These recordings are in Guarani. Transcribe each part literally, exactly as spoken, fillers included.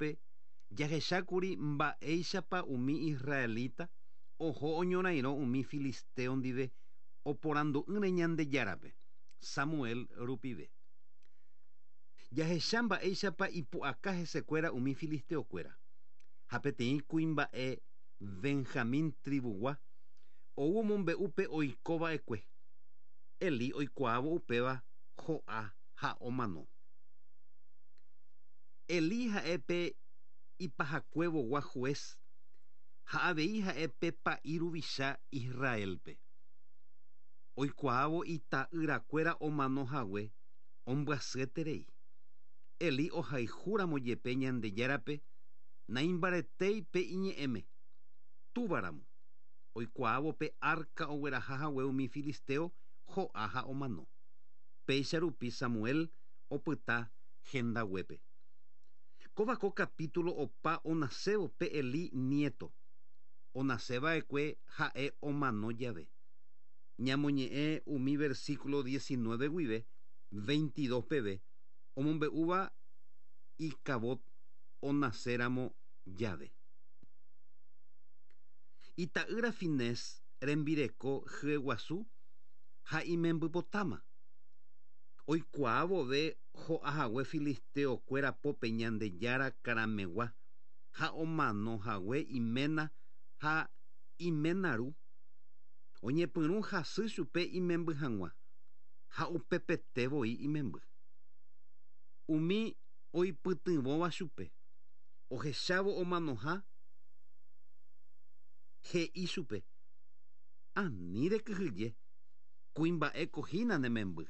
Capítulope jahechákuri mba'éichapa umi israelita oho oñorairõ umi filisteo ndive oporandu'ỹre Ñandejárape Samuel rupive. Jahecha mba'éichapa ipu'aka hesekuéra umi filisteokuéra ha peteĩ kuimba'e Benjamín tribugua ou omombe'u pe oikova'ekue. Elí oikuaávo upéva ho'a ha omano. Elí ha'e pe ipahakuevogua juez ha avei ha'e pe pa'i ruvicha Israelpe. Oikuaávo ita'yrakuéra omanohague ombyasyeterei. Elí ohayhúramo jepe Ñandejárape naimbaretéi pe iñe'ẽme túvaramo. Oikuaávo pe arca oguerahahague umi filisteo ho'a ha omano. Péicha rupi Samuel opyta hendaguépe. Kóva ko capítulo opa onasévo pe Elí nieto. Onaseva'ekue ha'e omano jave. Ñamoñe'ẽ umi versículo diecinueve guive veintidós peve omombe'úva Icabod onaséramo jave. Ita'ýra Finés rembireko hyeguasu ha imembypotáma. Oikuaa vove ho'ahague filisteokuéra pópe Ñandejára karamegua ha omanohague iména ha iména ru. Oñepyrũ hasy chupe imemby hag̃ua ha upepete voi imemby. Umi oipytyvõva chupe ohechávo omanoha he'i chupe ani rekyhyje kuimba'éko hína ne memby.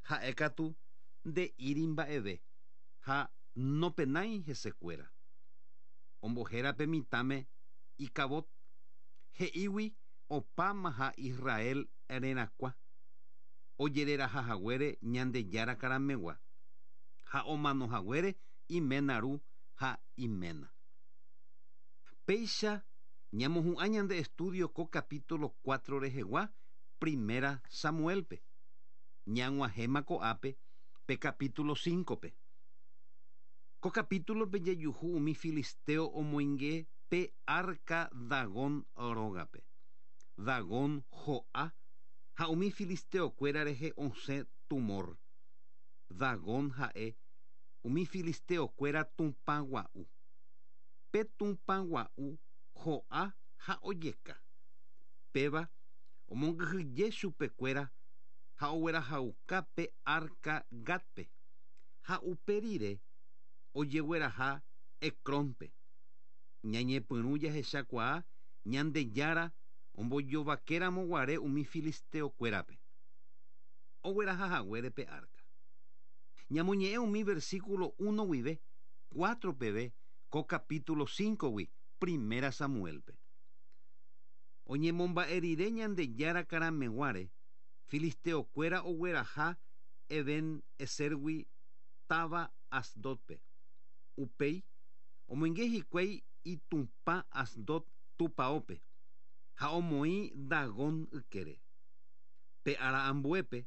Ha'e katu nde'íri mba'eve ha nopenái hesekuéra. Ombohéra pe mitãme Icabod he'ígui opámaha Israel rerakuã ojererahahaguére Ñandejára karamegua ha omanohaguére iména ru ha iména. Péicha ñamohu'ã ñande estudio ko capítulo cuatro rehegua primera Samuelpe. Ñag̃uahẽma ko'ápe pe capítulo cinco-pe. Ko capítulope jajuhu umi filisteo omoinge pe arca Dagón rógape. Dagón ho'a ha umi filisteokuéra rehe osẽ tumor. Dagón ha'e umi filisteokuéra tupã gua'u. Pe tupã gua'u ho'a ha ojeka. Péva omongyhyje chupekuéra ha oguerahauka pe arca Gatpe ha upe rire ojegueraha Ecrónpe. Ñañepyrũ jahechakuaa Ñandejára ombojovakéramo guare umi filisteokuérape. Oguerahahaguére pe arca. Ñamoñe'ẽ umi versículo uno guive cuatro peve ko capítulo cinco-gui primera Samuelpe. Oñemomba'e rire Ñandejára karameguáre filisteokuéra ogueraha Eben-Ezergui táva Asdodpe. Upéi omoinge hikuái itupã Asdod tupãópe ha omoĩ Dagón ykére. Pe ára ambuépe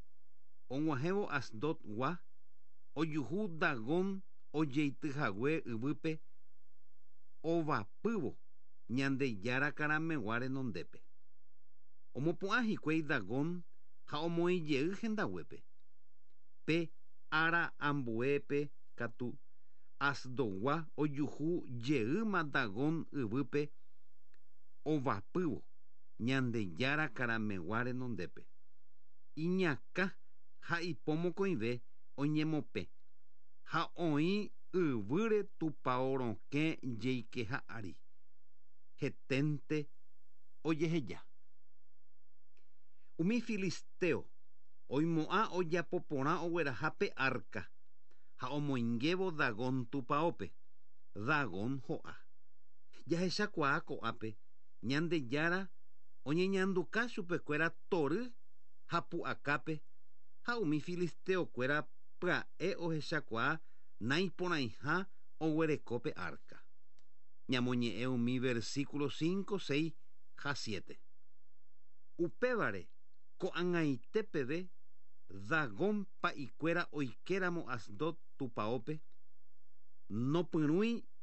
og̃uahẽvo Asdodgua ojuhu Dagón ojeityhague yvýpe ovapývo Ñandejára karamegua renondépe. Omopu'ã hikuái Dagón ha omoĩjey hendaguépe. Pe ára ambuépe katu Asdodgua ojuhu jeýma Dagón yvýpe ovapývo Ñandejára karamegua renondépe. Iñakã ha ipo mokõive oñemopẽ ha oĩ yvýre tupão rokẽ jeikeha ári. Heténte ojeheja. Umi filisteo oimo'ã ojapo porã ogueraha pe arca ha omoingévo Dagón tupãópe. Dagón ho'a. Jahechakuaa ko'ápe Ñandejára oñeñanduka chupekuéra tory ha pu'akápe ha umi filisteokuéra pya'e ohechakuaa naiporãiha oguereko pe arca. Ñamoñe'ẽ umi versículo cinco, seis ha siete. Upévare ko'ag̃aite peve Dagón pa'ikuéra oikéramo Asdod tupãópe nopyrũi